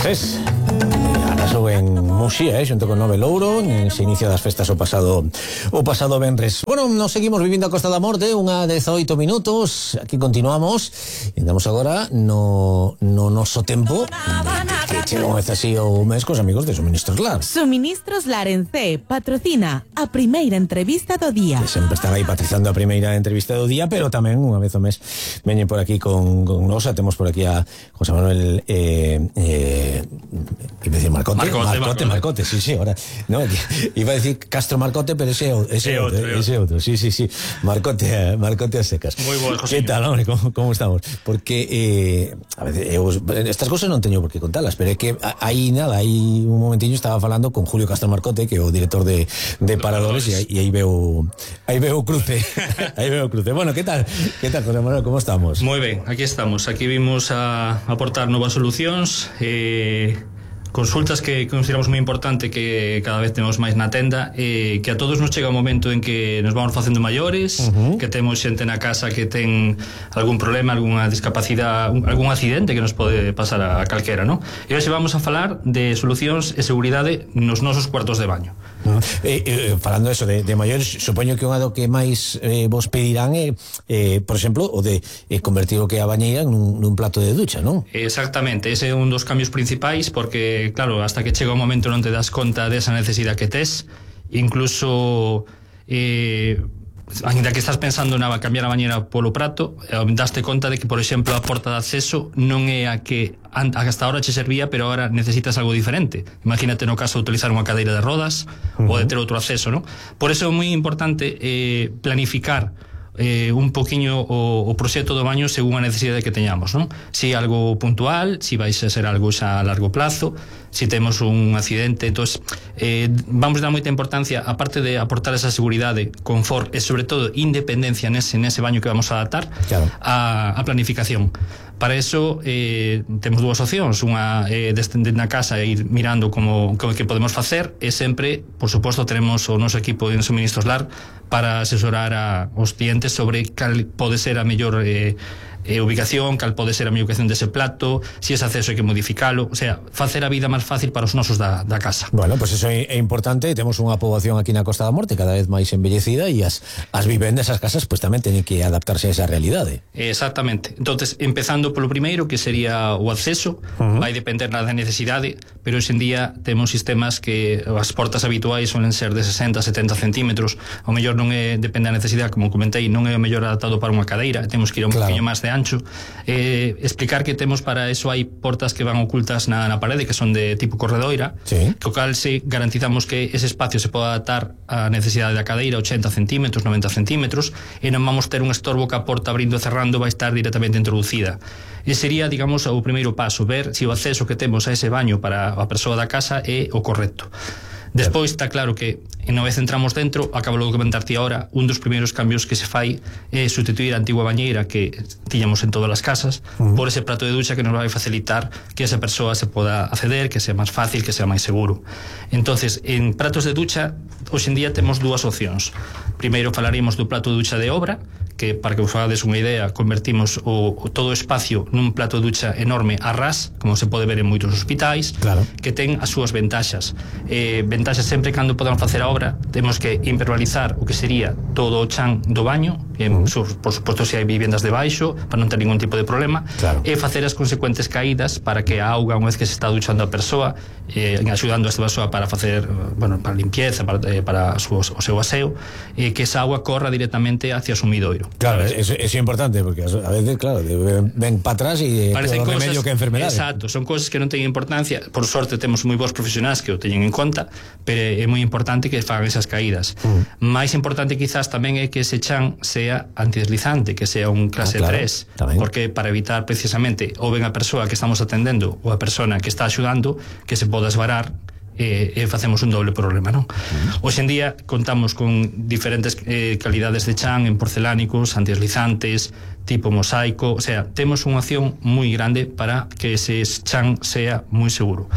Tres. Arrasou en Muxía, xunto con Nove Louro, se inicia das festas o pasado venres. Bueno, nos seguimos vivindo a Costa da Morte, unha 18 minutos, aquí continuamos, e andamos agora no noso tempo, que chega unha vez así o mes cos amigos de Suministros Lar. Suministros Lar en C patrocina a primeira entrevista do día. Que sempre están aí patrizando a primeira entrevista do día, pero tamén unha vez ao mes veñen por aquí con nosa, temos por aquí a José Manuel iba a decir Marcote, sí, ahora no, iba a decir Castro Marcote, pero ese outro, sí, Marcote a secas. Moi boas, José. Que tal, hombre, como estamos? Porque a veces estas cosas non teño por que contalas, pero é que hai un momentiño estaba falando con Julio Castro Marcote, que é o director de Paradores, e aí veo cruce. Aí veo cruce. Bueno, que tal, José Manuel, como estamos? Moi ben, aquí estamos. Aquí vimos a aportar novas solucións, consultas que consideramos moi importante, que cada vez temos máis na tenda, que a todos nos chega un momento en que nos vamos facendo maiores, que temos xente na casa que ten algún problema, algunha discapacidade, algún accidente que nos pode pasar a calquera, non? E hoxe vamos a falar de solucións e seguridade nos nosos cuartos de baño. Falando eso de maiores, supoño que unha do que máis vos pedirán é, por exemplo, o de convertir o que é a bañeira nun plato de ducha, non? Exactamente, ese é un dos cambios principais, porque claro, hasta que chega o momento non te das conta desa necesidade que tes, incluso ainda que estás pensando na cambiar a bañera polo prato, daste conta de que, por exemplo, a porta de acceso non é a que hasta ahora che servía, pero agora necesitas algo diferente. Imagínate no caso de utilizar unha cadeira de rodas ou de ter outro acceso, non? Por eso é moi importante planificar un poquinho o proxecto do baño según a necesidade que teñamos, non? Si algo puntual, si vais a ser algo xa a largo plazo, si temos un accidente. Entón, vamos dar moita importancia, aparte de aportar esa seguridade, confort e sobre todo independencia nese baño que vamos a adaptar, claro, a planificación. Para eso temos dúas opcións, unha descender na casa e ir mirando como que podemos facer, e sempre, por suposto, teremos o noso equipo en Suministros Lar para asesorar aos clientes sobre cal pode ser a mellor ubicación, cal pode ser a mellor ubicación dese plato, si ese acceso hai que modificalo, o sea, facer a vida máis fácil para os nosos da casa. Bueno, pues eso é importante. Temos unha poboación aquí na Costa da Morte cada vez máis embellecida, e as vivendas, as casas, pues tamén teñen que adaptarse a esa realidade. Exactamente. Entonces, empezando polo primeiro, que sería o acceso, vai depender da necesidade, pero hoxe en día temos sistemas que as portas habituais suelen ser de 60-70 centímetros, o mellor non depende da necesidade, como comentei, non é o mellor adaptado para unha cadeira, temos que ir un poquinho máis de ancho. Explicar que temos para eso, hai portas que van ocultas na parede, que son de tipo corredoira, sí, co cal se garantizamos que ese espacio se poda adaptar á necesidade da cadeira, 80 centímetros, 90 centímetros, e non vamos ter un estorbo que a porta abrindo e cerrando vai estar directamente introducida. E sería, digamos, o primeiro paso, ver se o acceso que temos a ese baño para a persoa da casa é o correcto. Despois está claro que unha vez entramos dentro, acabo de comentarte ahora, un dos primeiros cambios que se fai é sustituir a antigua bañeira que tiñamos en todas as casas por ese prato de ducha que nos vai facilitar que esa persoa se poda acceder, que sea máis fácil, que sea máis seguro. Entonces, en pratos de ducha, hoxe en día temos dúas opcións. Primeiro falaríamos do plato de ducha de obra, que, para que vos fagades unha idea, convertimos todo o espacio nun plato de ducha enorme a ras, como se pode ver en moitos hospitais, claro, que ten as súas ventaxas. Ventaxas sempre cando podamos facer a obra, temos que impermeabilizar o que sería todo o chan do baño, por suposto se hai vivendas debaixo, para non ter ningún tipo de problema, claro, e facer as consecuentes caídas para que a auga, unha vez que se está duchando a persoa, axudando a esta persoa para facer, para limpieza, para o seu aseo, que esa auga corra directamente hacia o sumidoiro. Claro, eso é importante, porque a veces, claro, ven para atrás e parecen todo remedio que enfermedade. Exacto, son cosas que non teñen importancia. Por sorte temos moi bons profesionais que o teñen en conta, pero é moi importante que fagan esas caídas. Máis importante quizás tamén é que ese chan sea antideslizante, que sea un clase 3, tamén, porque para evitar precisamente ou ben a persoa que estamos atendendo ou a persona que está axudando que se poda esvarar e facemos un doble problema, non? Hoxe en día contamos con diferentes calidades de chan en porcelánicos, antideslizantes, tipo mosaico, o sea, temos unha opción moi grande para que ese chan sea moi seguro.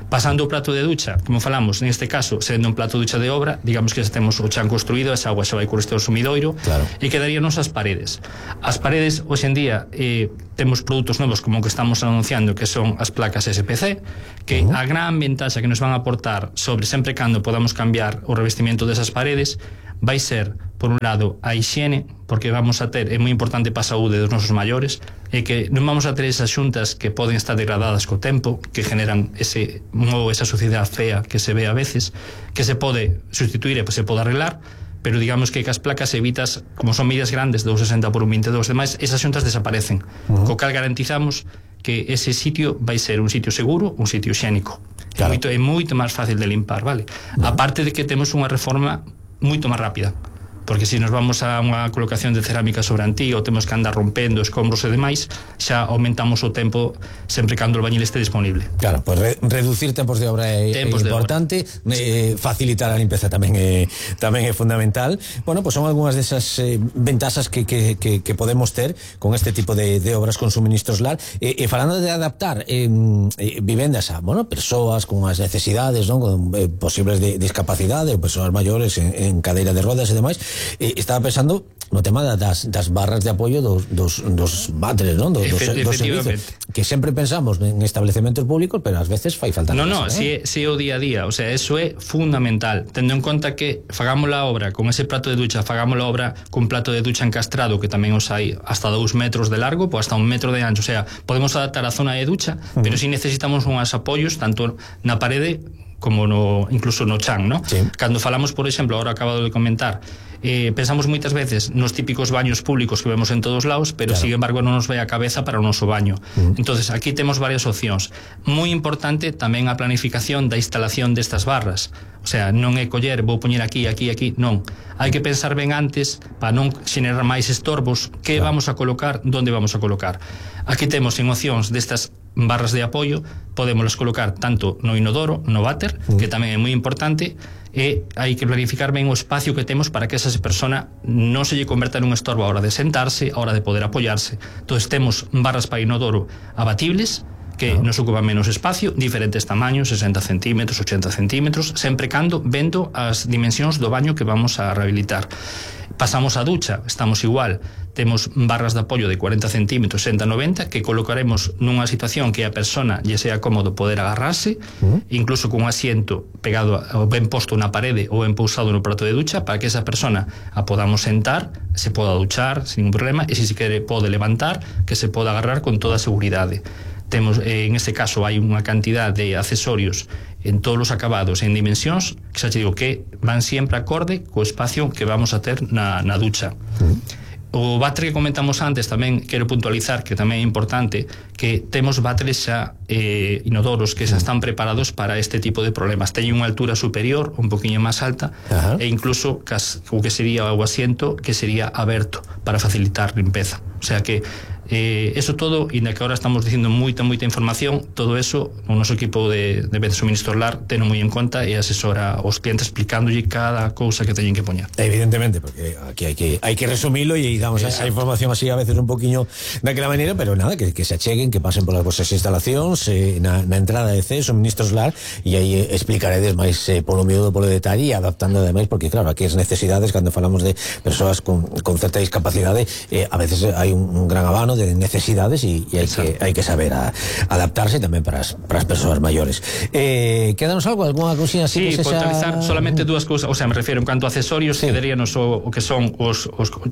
Pasando o prato de ducha, como falamos, neste caso, sendo un plato de ducha de obra, digamos que xa temos o chan construído, esa agua xa vai correr ao sumidoiro, claro, e quedaríanos as paredes. As paredes, hoxe en día, temos produtos novos como o que estamos anunciando, que son as placas SPC, que a gran ventaxa que nos van a aportar sobre sempre cando podamos cambiar o revestimento desas paredes vai ser, por un lado, a higiene, porque vamos a ter, é moi importante para a saúde dos nosos maiores, e que non vamos a ter esas xuntas que poden estar degradadas co tempo, que generan esa suciedade fea que se ve a veces, que se pode sustituir e se pode arreglar, pero digamos que as placas evitas, como son medidas grandes, 2,60 por 1,22 demais, esas xuntas desaparecen, co cal garantizamos que ese sitio vai ser un sitio seguro, un sitio higiénico. Claro. É moito máis fácil de limpar, vale? Aparte de que temos unha reforma moito máis rápida, porque se nos vamos a unha colocación de cerámica sobre antiga ou temos que andar rompendo escombros e demais, xa aumentamos o tempo sempre cando o bañil este disponible. Claro, pues reducir tempos de obra é importante, facilitar a limpeza tamén é fundamental. Bueno, pues son algunhas desas ventaxas que podemos ter con este tipo de obras con suministros LAR. E falando de adaptar vivendas a, bueno, persoas con as necesidades, non, con posibles de discapacidade, ou persoas maiores en cadeira de rodas e demais, estaba pensando no tema das barras de apoio dos váteres, non? Dos servicios, que sempre pensamos en establecementos públicos, pero ás veces fai falta. Si é o día a día, o sea, eso é fundamental, tendo en conta que fagamos a obra con ese prato de ducha, fagamos a obra con plato de ducha encastrado, que tamén os hai hasta 2 metros de largo, pues hasta 1 metro de ancho, o sea, podemos adaptar a zona de ducha, pero si necesitamos unhas apoios tanto na parede como incluso no chan, ¿no? Sí. Cando falamos, por exemplo, ahora acabado de comentar, pensamos moitas veces nos típicos baños públicos que vemos en todos lados, pero claro, sin embargo non nos vai a cabeza para o noso baño. Entonces aquí temos varias opcións. Moi importante tamén a planificación da instalación destas barras. O sea, non é coller, vou poñer aquí, non. Hai que pensar ben antes para non xenerar máis estorbos, que vamos a colocar, onde vamos a colocar. Aquí temos en opcións destas barras de apoio, podémoslas colocar tanto no inodoro, no váter, que tamén é moi importante, e hai que planificar ben o espacio que temos para que esa persona non se lle converta nun estorbo a hora de sentarse, a hora de poder apoiarse. Entón temos barras para inodoro abatibles, que nos ocupan menos espacio, diferentes tamaños, 60 centímetros, 80 centímetros, sempre cando vendo as dimensións do baño que vamos a rehabilitar. Pasamos a ducha, estamos igual, temos barras de apoio de 40 centímetros, 60-90, que colocaremos nunha situación que a persona lle sea cómodo poder agarrarse, incluso con un asiento pegado ou ben posto na parede ou ben pousado no prato de ducha, para que esa persona a podamos sentar, se poda duchar sin ningún problema, e se quere pode levantar, que se poda agarrar con toda a seguridade. Temos, en este caso, hai unha cantidad de accesorios en todos os acabados, en dimensións, que xa te digo que van sempre acorde co espacio que vamos a ter na ducha. O váter que comentamos antes tamén quero puntualizar que tamén é importante que temos váteres xa inodoros que xa están preparados para este tipo de problemas. Teñen unha altura superior, un poquinho máis alta, e incluso o que sería o asiento que sería aberto para facilitar limpeza. O sea que eso todo, e na que ahora estamos dicindo moita información, todo eso o noso equipo de suministro LAR teno moi en conta e asesora aos clientes explicándolle cada cousa que teñen que poñer. Evidentemente, porque aquí hai que resumilo e damos a información así a veces un poquinho daquela maneira, pero nada, que se acheguen, que pasen polas vosas instalacións na entrada de suministros LAR, e aí explicaredes máis polo miúdo, polo detalle, e adaptando ademais, porque claro, aquí as necesidades, cando falamos de persoas con certa discapacidade, a veces hai un gran abano de necesidades e hai que saber adaptarse tamén para as persoas maiores. Quédanos algo, algunha cousinha así? Sí, puntualizar solamente dúas cousas, o sea, me refiro en canto a accesorios, quedaríanos o que son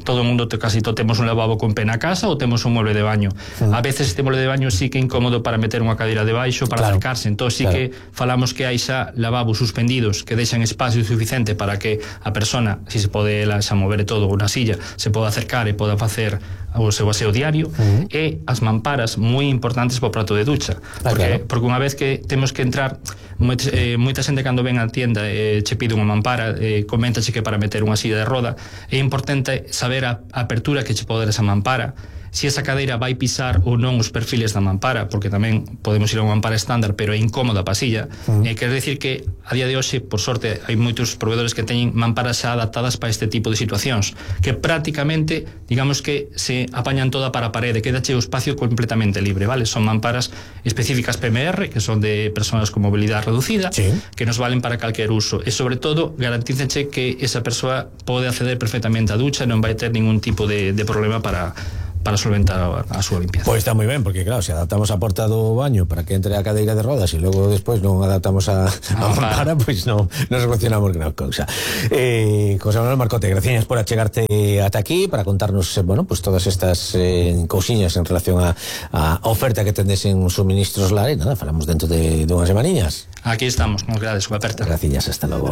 todo o mundo, casi todo temos un lavabo con pé na casa ou temos un mueble de baño. A veces este mueble de baño sí que é incómodo para meter unha cadeira debaixo para acercarse, entón sí que falamos que hai xa lavabos suspendidos que deixan espacio suficiente para que a persona, si se pode xa mover todo unha silla, se poda acercar e poda facer o seu aseo diario, e as mamparas moi importantes para o prato de ducha, porque unha vez que temos que entrar, moita xente cando ven á tienda che pide unha mampara, coméntache que para meter unha silla de roda é importante saber a apertura que che pode dar esa mampara, se esa cadeira vai pisar ou non os perfiles da mampara, porque tamén podemos ir a unha mampara estándar pero é incómoda a pasilla. Quer decir que a día de hoxe, por sorte, hai moitos proveedores que teñen mamparas xa adaptadas para este tipo de situacións, que prácticamente, digamos que se apañan toda para a parede, quedache o espacio completamente libre, vale? Son mamparas específicas PMR, que son de persoas con mobilidade reducida, sí, que nos valen para calquer uso, e sobre todo garantícenche que esa persoa pode acceder perfectamente á ducha e non vai ter ningún tipo de problema para solventar a súa limpieza. Pois está moi ben, porque claro, se adaptamos a porta do baño para que entre a cadeira de rodas e logo despois non adaptamos a mampara, pois non solucionamos gran cousa. José Manuel Marcote, gracias por achegarte ata aquí para contarnos, bueno, pues todas estas cousiñas en relación a oferta que tendes en Suministros Lar, e nada, falamos dentro de unhas semaniñas. Aquí estamos, nos grades, unha aperta. Gracias, hasta logo.